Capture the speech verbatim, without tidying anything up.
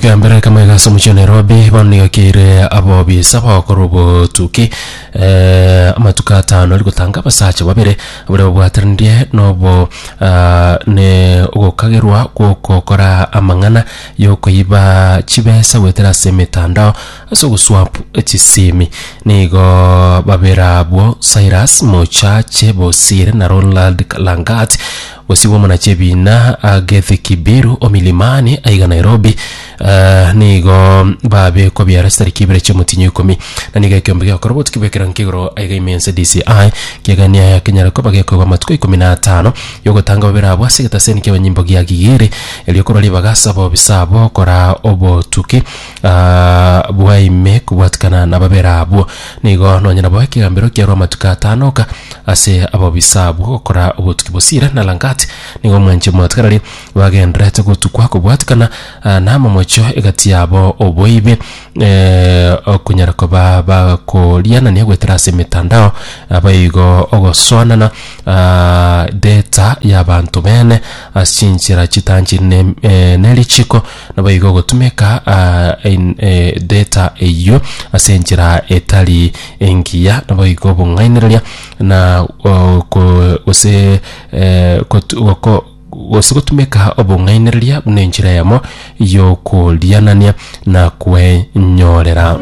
Ekegambero ekemo iga ase omochie o Nairobi bono nigo keire abobisa bagokora obotuki eh, amatuko atano ari gotanga abasacha babere baria babwateranirie nobo ah, ne ogokagerwa gwokokora amang'ana yokoiba chibesa goetera ase emetandao ase ogoswap chisimi. Nigo babere abwo Cyrus Mochache Bosire na Ronald Langat gosibwa omonachi ebina Agethe Kibiru o Milimani aiga Nairobi eh, nigo babekwa biara chitariki ibere chi'omotinyo ikomi na nigo ekeombe giakora obotuki bw'ekerango kia aiga ime ense D C I kiegania kenyare koba gekoegwa amatuko ikomi na atano yogotanga babere abwo ase egetaseni ki'abanyimbo gia Gigiri erio korwa ribaga ase abobisa abo kora obotuki ah, bwa ime kobwatikana na babere abwo. Nigo nonya nabo ekegambero kiarwa amatuko atano oka ase abobisa abwo gokora obotuki. Bosire na Langat nigo omwanchi omwatigarari bagenderete gotukwa kobwatikana ah, na amamocho egati yabo oboibi eh, okonyara koba bakorianania goetera ase emitandao abaigo ogosoanana ah, data y'abanto bene ase chinchera chitanchire ne, eh, nerichiko nabo ogotumeka ah, in, eh, data eyio ase enchera etari engiya nabo igo obong'ainereria na oh, ko- gose eh, kotu- goko- gose gotumeka obong'ainereria buna enchera eyemo yokorianania na kwenyorera.